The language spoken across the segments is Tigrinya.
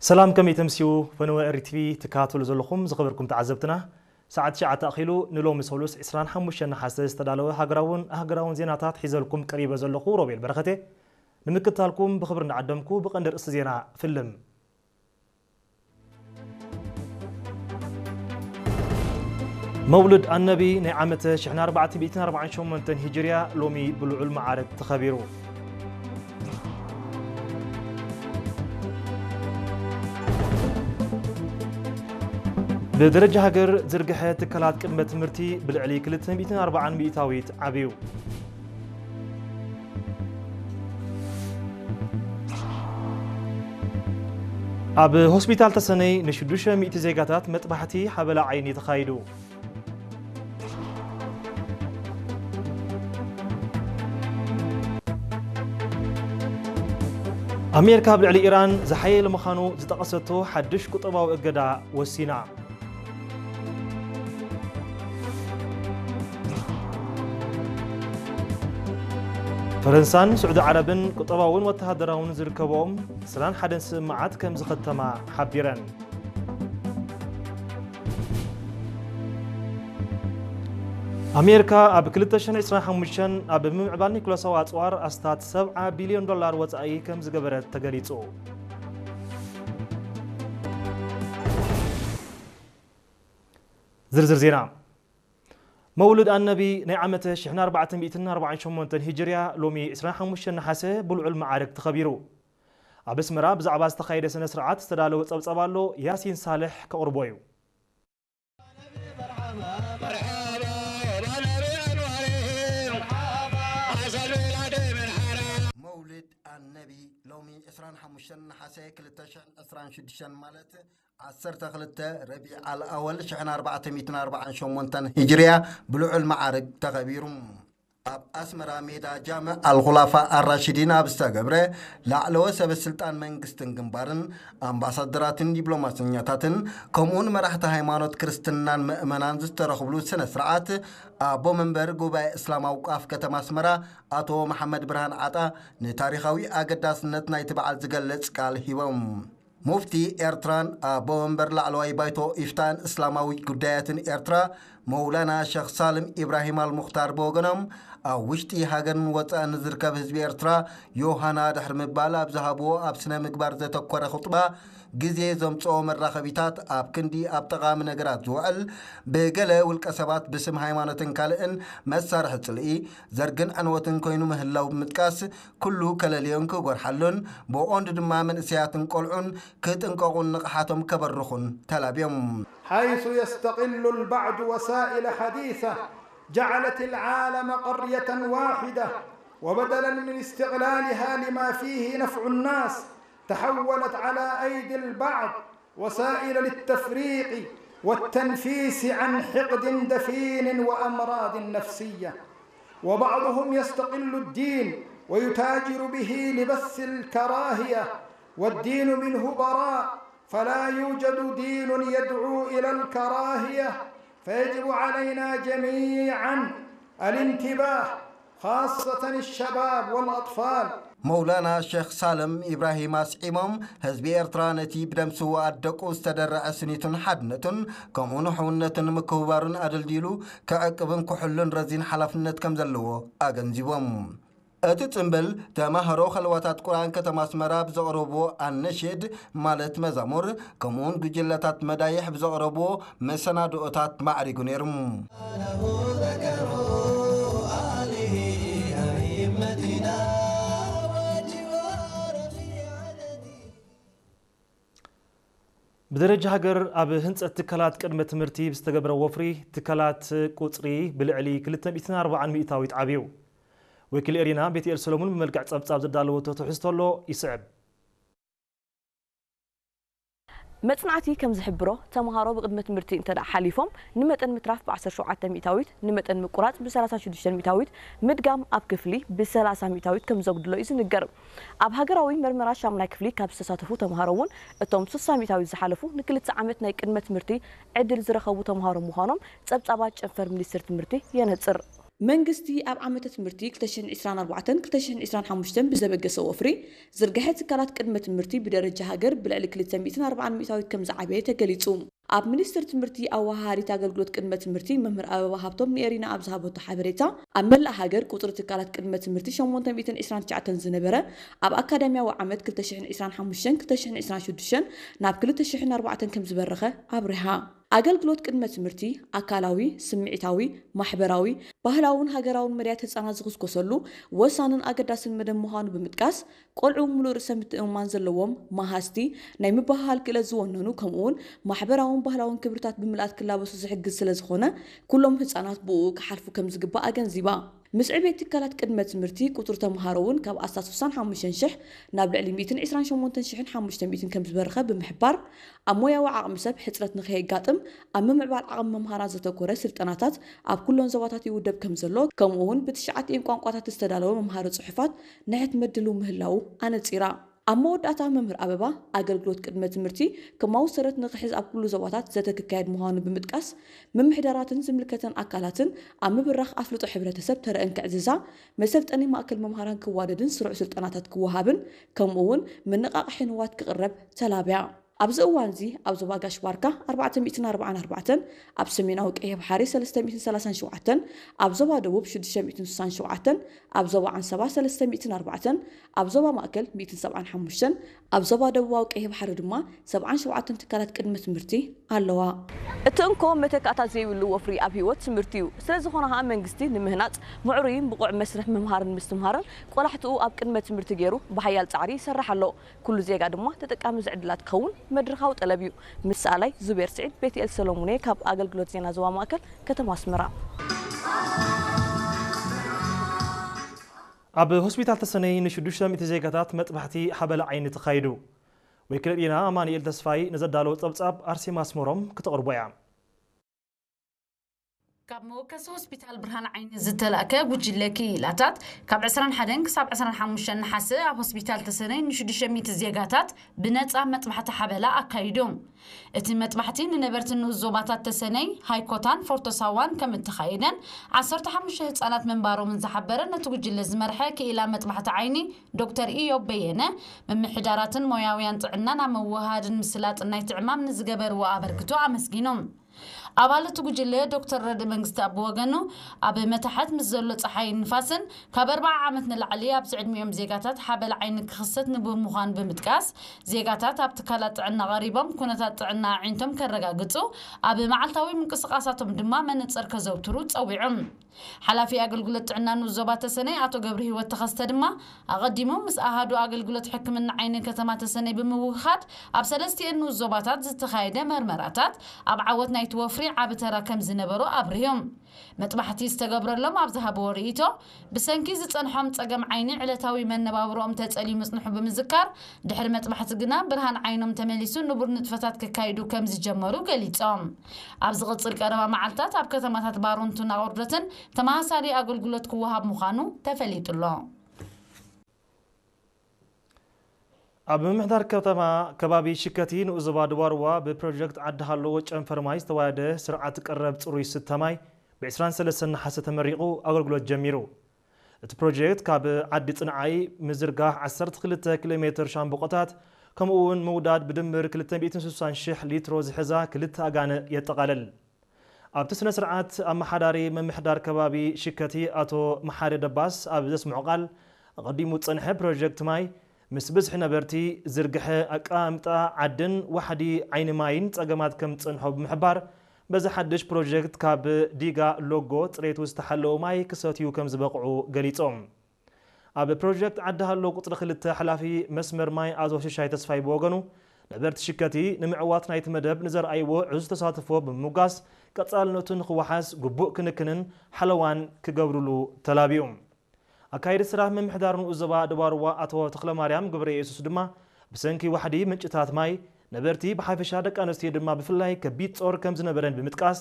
ሰላም፣ ከመይ ተምስዩ? ፈነወ ኤሪ ቲቪ ትከታተሉ ዘለኹም ዝኸበርኩም ተዓዘብትና፣ ሰዓት ትሽዓተ ኣኺሉ ንሎሚ ሰሉስ ዕስራን ሓሙሽተን ነሓሰ ዝተዳለወ ሃገራውን ኣህገራውን ዜናታት ሒዘልኩም ቀሪበ ዘለኹ ሮቤል በረኸቴ። ንምክትታልኩም ብኽብሪ እናዓደምኩ ብቐንዲ ርእሲ ዜና ፍልም። መውልድ ኣነቢ ናይ ዓመተ ሽሕን ኣርባዕተ ሚእትን ኣርባዓን ሸሞንተን ሂጅርያ ሎሚ ብልዑል መዓርግ ተኸቢሩ። ብደረጃ ሃገር ዝርግሐ ትካላት ቅድመ ትምህርቲ ብልዕሊ ክልተ ሚእትን ኣርባዓን ሚእታዊት ዓብዩ። ኣብ ሆስፒታል ተሰነይ ንሽዱሽተ ሚእቲ ዜጋታት መጥባሕቲ ሓበላ ዓይኒ ተኻይዱ። ኣሜሪካ ኣብ ልዕሊ ኢራን ዝሓየለ ምዃኑ ዝጠቐሰቶ ሓድሽ ቁጠባዊ እገዳ ወሲና። ፈረንሳን ስዑዲ ዓረብን ቁጠባውን ወተሃደራውን ዝርከቦም ዕስራን ሓደን ስምምዓት ከም ዝኸተማ ሓቢረን። ኣሜሪካ ኣብ ክልተ ሽሕን ዕስራን ሓሙሽተን ኣብ ምምዕባል ኒኩለሳዊ ኣጽዋር ኣስታት ሰብዓ ቢልዮን ዶላር ወጻኢ ከም ዝገበረት ተገሊጹ። ዝርዝር ዜና። መውልድ ኣነቢ ናይ ዓመተ ሽሕን ኣርባዕተ ሚእትን ኣርባዓን ሸሞንተን ሂጅርያ ሎሚ ዕስራን ሓሙሽተን ነሓሰ ብልዑል መዓርግ ተኸቢሩ። ኣብ ኣስመራ ብዛዕባ ዝተኻየደ ስነ ስርዓት ዝተዳለወ ጸብጻብ ኣሎ፣ ያሲን ሳልሕ ከቕርቦ እዩ። መውልድ ኣነቢ ሎሚ ዕስራን ሓሙሽተን ነሓሰ ክልተ ሽሕን ዕስራን ሽዱሽተን ማለት ዓሰርተ ክልተ ረቢዕ ኣልኣወል ሽሕን ኣርባዕተ ሚእትን ኣርባዓን ሸሞንተን ሂጅርያ ብልዑል መዓርግ ተኸቢሩ። ኣብ ኣስመራ ሜዳ ጃምዕ ኣልኹላፋ ኣራሽዲን ኣብ ዝተገብረ ላዕለወ ሰበ ስልጣን መንግስትን ግንባርን ኣምባሳደራትን ዲፕሎማሰኛታትን ከምኡውን መራሕቲ ሃይማኖት ክርስትናን ምእመናን ዝተረኽብሉ ስነ ስርዓት ኣቦ መንበር ጉባኤ እስላማዊ ቋፍ ከተማ ኣስመራ ኣቶ መሓመድ ብርሃን ዓጣ ንታሪኻዊ ኣገዳስነት ናይቲ በዓል ዝገልጽ ቃል ሂቦም። ሙፍቲ ኤርትራን ኣቦ መንበር ላዕለዋይ ባይቶ ኢፍታን እስላማዊ ጉዳያትን ኤርትራ መውላና ሸኽ ሳልም ኢብራሂም ኣልሙኽታር ብወገኖም፣ ኣብ ውሽጢ ሃገርን ወጻእን ዝርከብ ህዝቢ ኤርትራ ዮሃና ድሕሪ ምባል ኣብ ዝሃብዎ ኣብ ስነ ምግባር ዘተኮረ ኹጥባ፣ ግዜ ዘምጽኦ መራኸቢታት ኣብ ክንዲ ኣብ ጠቓሚ ነገራት ዝውዕል፣ ብገለ ውልቀ ሰባት ብስም ሃይማኖትን ካልእን መሳርሒ ጽልኢ፣ ዘርግን ዕንወትን ኮይኑ ምህላው ብምጥቃስ፣ ኩሉ ከለልዮን ክጎርሓሉን ብቐንዱ ድማ መንእሰያትን ቆልዑን ክጥንቀቑን ንቕሓቶም ከበርኹን ተላብዮም። حيث يستغل البعض وسائل حديثة جعلت العالم قرية واحدة، وبدلا من استغلالها لما فيه نفع الناس تحولت على أيدي البعض وسائل للتفريق والتنفيس عن حقد دفين وأمراض نفسية. وبعضهم يستغل الدين ويتاجر به لبث الكراهية، والدين منه براء، فلا يوجد دين يدعو إلى الكراهية، فيجب علينا جميعا الانتباه، خاصة الشباب والأطفال. መውላና ሸኽ ሳልም ኢብራሂም ኣስዒሞም፣ ህዝቢ ኤርትራ ነቲ ብደም ስውኣት ደቁ ዝተደረዐ ስኒቱን ሓድነቱን ከምኡ ንሕውነቱን ምክብባሩን ኣደልዲሉ ክዕቅብን ክሕሉን ረዚን ሓላፍነት ከም ዘለዎ ኣገንዚቦም። እቲ ጽምብል ተማሃሮ ኸልዋታት ቁርኣን ከተማ ኣስመራ ብዘቕረብዎ ኣነሽድ ማለት መዛሙር ከምኡውን ጉጅለታት መዳይሕ ብዘቕረብዎ መሰናድኦታት ማዕሪጉ ነይሩ። ብደረጃ ሃገር ኣብ ህንጸት ትካላት ቅድመ ትምህርቲ ብዝተገብረ ወፍሪ ትካላት ቁጽሪ ብልዕሊ ክልተ ሚእትን ኣርባዓን ሚእታዊት ዓብዩ። ወኪል ኤሪና ቤትኤል ሰሎሙን ብመልክዕ ጸብጻብ ዘዳለወቶ ትሕዝቶ ኣሎ ይስዕብ። መጽናዕቲ ከም ዝሕብሮ፣ ተምሃሮ ብቅድመ ትምህርቲ እንተ ደኣ ሓሊፎም፣ ንመጠን ምትራፍ ብ ዓሰርተ ሸውዓተ ሚእታዊት፣ ንመጠን ምቁራጽ ብ ሰላሳ ሽዱሽተ ሚእታዊት፣ ምድጋም ኣብ ክፍሊ ብ ሰላሳ ሚእታዊት ከም ዘጉድሎ እዩ ዝንገር። ኣብ ሃገራዊ መርመራ ሻምናይ ክፍሊ ካብ ዝተሳተፉ ተምሃሮ እውን፣ እቶም ስሳ ሚእታዊት ዝሓለፉ ንክልተ ዓመት ናይ ቅድመ ትምህርቲ ዕድል ዝረኸቡ ተምሃሮ ምዃኖም ጸብጻባት ጨንፈር ሚኒስትሪ ትምህርቲ የነጽር። መንግስቲ ኣብ ዓመተ ትምህርቲ ክልተ ሽሕን ዕስራን ኣርባዕተን ክልተ ሽሕን ዕስራን ሓሙሽተን ብዘበገሰ ወፍሪ ዝርግሐ ትካላት ቅድመ ትምህርቲ ብደረጃ ሃገር ብልዕሊ ክልተ ሚእትን ኣርባዓን ሚእታዊት ከም ዝዓበየ ተገሊጹ። ኣብ ሚኒስቴር ትምህርቲ ኣወሃሃዲት ኣገልግሎት ቅድመ ትምህርቲ መምህር ኣበባ ሃብቶም ንኤሪና ኣብ ዝሃበቶ ሓበሬታ፣ ኣብ መላእ ሃገር ቁጽሪ ትካላት ቅድመ ትምህርቲ ሸሞንተ ሚእትን ዕስራን ትሽዓተን ዝነበረ፣ ኣብ ኣካዳሚያዊ ዓመት ክልተ ሽሕን ዕስራን ሓሙሽተን ክልተ ሽሕን ዕስራን ሽዱሽተን ናብ ክልተ ሽሕን ኣርባዕተን ከም ዝበረኸ ኣብሪሃ። ኣገልግሎት ቅድመ ትምህርቲ ኣካላዊ፣ ስምዒታዊ፣ ማሕበራዊ፣ ባህላውን ሃገራውን መድያት ህጻናት ዝኹስኮሰሉ ወሳንን ኣገዳስን መደብ ምዃኑ ብምጥቃስ፣ ቆልዑ ምሉእ ርእሰ ምትእምማን ዘለዎም፣ መሃዝቲ፣ ናይ ምብህሃል ክእለት ዝወነኑ፣ ከምኡውን ማሕበራውን ባህላውን ክብርታት ብምልኣት ክላበሱ ዝሕግዝ ስለ ዝኾነ፣ ኩሎም ህጻናት ብእኡ ክሓልፉ ከም ዝግባእ ኣገንዚባ። ምስ ዕቤት ትካላት ቅድመ ትምህርቲ፣ ቁጽሪ ተምሃሮ እውን ካብ ኣስታት ስሳን ሓሙሽተን ሽሕ ናብ ልዕሊ ሚእትን ዕስራን ሸሞንተን ሽሕን ሓሙሽተ ሚእትን ከም ዝበርኸ ብምሕባር፣ ኣብ ሞያዊ ዓቕሚ ሰብ ሕጽረት ንኸየጋጥም ኣብ ምምዕባል ዓቕሚ መምሃራን ዘተኮረ ስልጠናታት ኣብ ኩሎን ዞባታት ይውደብ ከም ዘሎ፣ ከምኡ እውን ብትሽዓቲኤን ቋንቋታት ዝተዳለወ መምሃሪ ጽሑፋት ንሕትመት ድልው ምህላዉ ኣነጺራ። ኣብ መወዳእታ መምህር ኣበባ፣ ኣገልግሎት ቅድመ ትምህርቲ ከማዊ ሰረት ንኽሕዝ ኣብ ኩሉ ዞባታት ዘተ ክካየድ ምዃኑ ብምጥቃስ፣ ምምሕዳራትን ዝምልከተን ኣካላትን ኣብ ምብራኽ ኣፍልጦ ሕብረተሰብ ተረአን ክዕዝዛ፣ መሰልጠኒ ማእከል መምሃራን ክዋደድን ስሩዕ ስልጠናታት ክወሃብን፣ ከምኡ እውን መነቓቕሒ ንዋት ክቕረብ ተላብያ። ኣብዚ እዋን እዚ ኣብ ዞባ ጋሽ ባርካ ኣርባዕተ ሚእትን ኣርባዓን ኣርባዕተን፣ ኣብ ሰሜናዊ ቀይሕ ባሕሪ ሰለስተ ሚእትን ሰላሳን ሸውዓተን፣ ኣብ ዞባ ደቡብ ሽዱሽተ ሚእትን ስሳን ሸውዓተን፣ ኣብ ዞባ ዓንሰባ ሰለስተ ሚእትን ኣርባዕተን፣ ኣብ ዞባ ማእከል ሚእትን ሰብዓን ሓሙሽተን፣ ኣብ ዞባ ደቡባዊ ቀይሕ ባሕሪ ድማ ሰብዓን ሸውዓተን ትካላት ቅድመ ትምህርቲ ኣለዋ። እቲ እንኮ መተካእታ ዘይብሉ ወፍሪ ኣብ ህይወት ትምህርቲ እዩ። ስለ ዝኾነ ኸኣ መንግስቲ ንምህናጽ ምዕሩይን ብቑዕ መስርሕ ምምሃርን ምስትምሃርን ቆላሕትኡ ኣብ ቅድመ ትምህርቲ ገይሩ ብሓያል ጻዕሪ ይሰርሕ ኣሎ። ኩሉ ዜጋ ድማ ተጠቃሚ እዚ ዕድላት ክኸውን መድረኻዊ ጠለብ እዩ። ምስ ሰኣላይ ዙቤር ስዒድ፣ ቤትኤል ሰሎሙን እየ ካብ ኣገልግሎት ዜና ዞባ ማእከል ከተማ ኣስመራ። ኣብ ሆስፒታል ተሰነይ ንሽዱሽተ ሚእቲ ዜጋታት መጥባሕቲ ሓበላ ዓይኒ ተኻይዱ። ወኪል ዜና ኣማኑኤል ተስፋይ ንዘዳለዎ ጸብጻብ ኣርሴማ ኣስመሮም ክተቕርቦ እያ። ካብ መወከሲ ሆስፒታል ብርሃን ዓይኒ ዝተላእከ ጉጅለ ክኢላታት፣ ካብ ዕስራን ሓደን ክሳብ ዕስራን ሓሙሽተን ነሓሰ ኣብ ሆስፒታል ተሰነይ ንሽዱሽተ ሚእቲ ዜጋታት ብነጻ መጥባሕቲ ሓበላ ኣካይዱ። እቲ መጥባሕቲ ንነበርቲ ንኡስ ዞባታት ተሰነይ፣ ሃይኮታን ፎርቶ ሳዋን ከም እተኻየደን፣ ዓሰርተ ሓሙሽተ ህጻናት ምንባሮምን ዝሓበረ ነቲ ጉጅለ ዝመርሐ ክኢላ መጥባሕቲ ዓይኒ ዶክተር ኢዮብ በየነ፣ ምምሕዳራትን ሞያውያን ጥዕናን ኣብ ምውህሃድን ምስላጥን ናይቲ ዕማም ንዝገበርዎ ኣበርክቶ ኣመስጊኑ። ኣባል እቲ ጉጅለ ዶክተር ረድእ መንግስቲ ኣብ ወገኑ፣ ኣብ መታሕት ምስ ዘሎ ጸሓይን ንፋስን ካብ ኣርብዓ ዓመት ንላዕሊ ኣብዚ ዕድሚኦም ዜጋታት ሓበል ዓይኒ ክኽሰት ንቡር ምዃኑ ብምጥቃስ፣ ዜጋታት ኣብ ትካላት ጥዕና ቀሪቦም ኩነታት ጥዕና ኣዒንቶም ከረጋግጹ፣ ኣብ መዓልታዊ ምንቅስቓሳቶም ድማ መነጽር ከዘውትሩ ጸዊዑ። ሓላፊ ኣገልግሎት ጥዕና ንኡስ ዞባ ተሰነይ ኣቶ ገብረሂወት ተኸስተ ድማ፣ ኣቐዲሙ ምስ ኣሃዱ ኣገልግሎት ሕክምና ዓይኒ ከተማ ተሰነይ ብምውህሃድ፣ ኣብ ሰለስቲኤን ንኡስ ዞባታት ዝተኻየደ መርመራታት ኣብ ዓወት ናይቲ ወፍሪ ዓቢ ተራ ከም ዝነበሮ ኣብሪሁ። መጥባሕቲ ዝተገብረሎም ኣብ ዝሃብዎ ርእይቶ፣ ብሰንኪ ዝጸንሖም ጸገም ዓይኒ ዕለታዊ መነባብሮኦም ተጸልዩ ምጽንሑ ብምዝካር፣ ድሕሪ መጥባሕቲ ግና ብርሃን ዓይኖም ተመሊሱ ንቡር ንጥፈታት ከካይዱ ከም ዝጀመሩ ገሊጾም። ኣብ ዝቕጽል ቀረባ መዓልታት ኣብ ከተማታት ባሮንቱን ኣቑርደትን ተመሳሳሊ ኣገልግሎት ክወሃብ ምዃኑ ተፈሊጡ ኣሎ። ኣብ ምምሕዳር ከተማ ከባቢ ሽከቲ ንኡስ ዞባ ድባርዋ ብፕሮጀክት ዓዲ ሃለዎ ጨንፈር ማይ ዝተዋደደ ስርዓት ቀረብ ጽሩይ ስተ ማይ ብ ዕስራን ሰለስተን ነሓሰ ተመሪቑ ኣገልግሎት ጀሚሩ። እቲ ፕሮጀክት ካብ ዓዲ ጽንዓይ ምዝርጋሕ ዓሰርተ ክልተ ኪሎ ሜትር ሻምብቆታት፣ ከምኡ እውን ምውዳድ ብድምር ክልተ ሚእትን ስሳን ሽሕ ሊትሮ ዝሕዛ ክልተ ኣጋንእ የጠቓልል። ኣብቲ ስነ ስርዓት ኣመሓዳሪ ምምሕዳር ከባቢ ሽከቲ ኣቶ መሓሪ ደባስ ኣብ ዘስምዖ ቃል፣ ኣቐዲሙ ዝጸንሐ ፕሮጀክት ማይ ምስ ብዝሒ ነበርቲ፣ ዝርግሐ ኣቀማምጣ ዓድን ዋሕዲ ዓይኒ ማይን ጸገማት ከም ዝጸንሖ ብምሕባር፣ በዚ ሓድሽ ፕሮጀክት ካብ ዲጋ ሎጎ ጽሬቱ ዝተሓለወ ማይ ክሰትዩ ከም ዝበቕዑ ገሊጾም። ኣብ ፕሮጀክት ዓዲ ሃሎ ቁጽሪ ክልተ ሓላፊ መስመር ማይ ኣቶ ሽሻይ ተስፋይ ብወገኑ፣ ነበርቲ ሽከቲ ንምዕዋት ናይቲ መደብ ንዘርኣይዎ ዕዙዝ ተሳትፎ ብምምጓስ፣ ቀጻልነቱ ንኽወሓስ ግቡእ ክንክንን ሓለዋን ክገብርሉ ተላቢዩ። ኣካየዲ ስራሕ ምምሕዳር ንኡስ ዞባ ደባርዋ ኣቶ ተኽለማርያም ገብረየሱስ ድማ፣ ብሰንኪ ዋሕዲ ምንጭታት ማይ፣ ነበርቲ ብሓፈሻ ደቂ ኣንስትዮ ድማ ብፍላይ ከቢድ ጾር ከም ዝነበረን ብምጥቃስ፣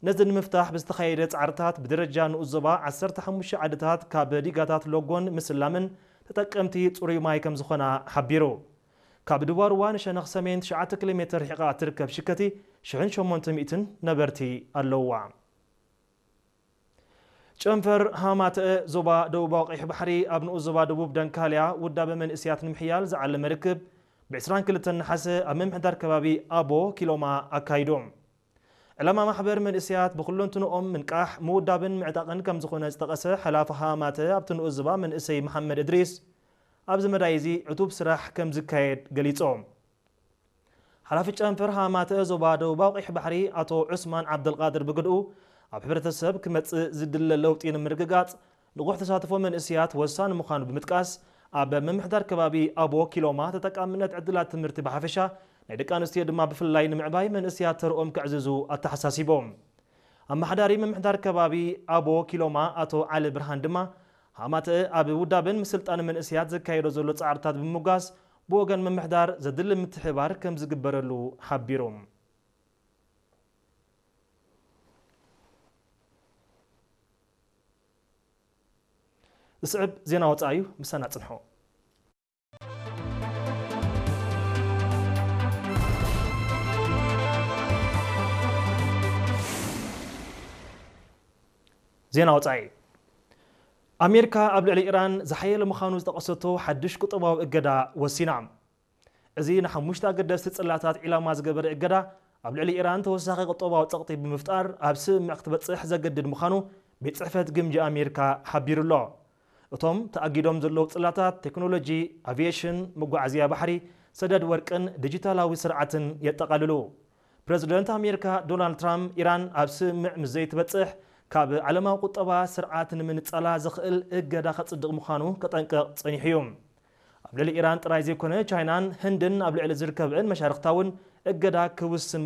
ነዚ ንምፍታሕ ብዝተኻየደ ጻዕርታት ብደረጃ ንኡስ ዞባ ዓሰርተ ሓሙሽተ ዓድታት ካብ ዲጋታት ሎጎን ምስላምን ተጠቀምቲ ጽሩይ ማይ ከም ዝኾና ሓቢሩ። ካብ ድባርዋ ንሸነኽ ሰሜን ትሽዓተ ኪሎ ሜትር ርሒቓ እትርከብ ሽከቲ ሽሕን ሸሞንተ ሚእትን ነበርቲ ኣለውዋ። ጨንፈር ሃማተአ ዞባ ደቡባዊ ቀይሕ ባሕሪ ኣብ ንኡስ ዞባ ደቡብ ደንካልያ ውዳበ መንእስያት ንምሕያል ዝዓለመ ርክብ ብ22 ነሓሰ ኣብ ምምሕዳር ከባቢ ኣቦ ኪሎማ ኣካይዱ። ዕላማ ማሕበር መንእስያት ብኩለንትንኦም ምንቃሕ፣ ምውዳብን ምዕጣቕን ከም ዝኾነ ዝጠቐሰ ሓላፊ ሃማተ ኣብቲ ንኡስ ዞባ መንእሰይ መሓመድ እድሪስ፣ ኣብዚ መዳይ እዚ ዕቱብ ስራሕ ከም ዝካየድ ገሊጾም። ሓላፊ ጨንፈር ሃማተ ዞባ ደቡባዊ ቀይሕ ባሕሪ ኣቶ ዑስማን ዓብደልቃድር ብግድኡ፣ ኣብ ሕብረተሰብ ክመጽእ ዝድለ ለውጢ ንምርግጋጽ ንቑሕ ተሳትፎ መንእስያት ወሳኒ ምዃኑ ብምጥቃስ፣ ኣብ ምምሕዳር ከባቢ ኣቦ ኪሎማ ተጠቃምነት ዕድላት ትምህርቲ ብሓፈሻ ናይ ደቂ ኣንስትዮ ድማ ብፍላይ ንምዕባይ መንእስያት ተርኦም ከዕዝዙ ኣተሓሳሲቦም። ኣመሓዳሪ ምምሕዳር ከባቢ ኣቦ ኪሎማ ኣቶ ዓሊ ብርሃን ድማ፣ ሃማተ ኣብ ውዳብን ምስልጣን መንእስያት ዘካየዶ ዘሎ ጻዕርታት ብምምጓስ፣ ብወገን ምምሕዳር ዘድሊ ምትሕባር ከም ዝግበረሉ ሓቢሩ። ዝስዕብ ዜና ወጻኢ እዩ፣ ምሳና ጽንሑ። ዜና ወጻኢ። ኣሜሪካ ኣብ ልዕሊ ኢራን ዝሓየለ ምዃኑ ዝጠቐሰቶ ሓድሽ ቁጠባዊ እገዳ ወሲና። እዚ ንሓሙሽተ ኣገደስቲ ጽላታት ዒላማ ዝገበረ እገዳ፣ ኣብ ልዕሊ ኢራን ተወሳኺ ቁጠባዊ ጸቕጢ ብምፍጣር ኣብ ስምምዕ ክትበጽሕ ዘገድድ ምዃኑ ቤት ጽሕፈት ግምጃ ኣሜሪካ ሓቢሩ ኣሎ። እቶም ተኣጊዶም ዘለዉ ጽላታት ቴክኖሎጂ፣ ኣቪየሽን፣ መጓዓዝያ ባሕሪ፣ ሰደድ ወርቅን ዲጂታላዊ ስርዓትን የጠቓልሉ። ፕረዚደንት ኣሜሪካ ዶናልድ ትራምፕ፣ ኢራን ኣብ ስምምዕ ምስ ዘይትበጽሕ፣ ካብ ዓለማዊ ቁጠባ ስርዓት ንምንጻላ ዘኽእል እገዳ ከጽድቕ ምዃኑ ከጠንቅቕ ጸኒሑ እዩ። ኣብ ልዕሊ ኢራን ጥራይ ዘይኮነ፣ ቻይናን ህንድን ኣብ ልዕሊ ዝርከብአን መሻርኽታ እውን እገዳ ክውስን